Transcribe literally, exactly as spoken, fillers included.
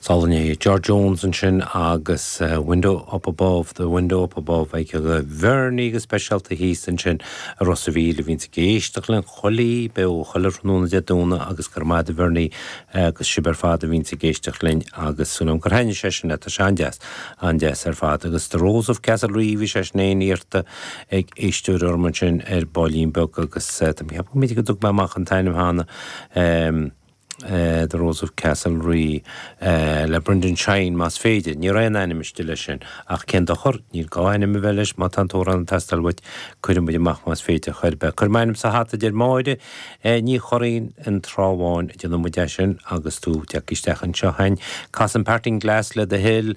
Álainn George Jones ansin agus uh, Window Up Above, the Window Up Above ag go Vernie go speisialta thíos ansin i Ros a' Mhíl a bhíonn ag éisteacht linn chuile beo chuile thráthnóna Dé Domhnaigh agus gur maith Vernie agus sibh ar fad a bhíonn ag éisteacht linn agus súil gur thaitnigh sé sin tá sé an-deas an-deas ar fad agus The Rose of Castlerea bhí sé sin éin iarrta ag éisteoir orm ansin ar baillín beag agus uh, Tá mé go dtug amach an t-ainm cheana. Um, Uh, the Rose of Castlerea uh, le Brendan Shine más féidir, ní raon ainmiste leis sin ach cén dochar níl gá ainm a bheith leis má tá an t-amhrán ag teastáil uait cuirfidh muid amach más féidir chuir be. Cuir m'ainm sa hata deir Máire uh, ní choín an tráháin déanfaidh muid sin agus tú teach isteach anseo hain. Cas an Parting Glass le do thoil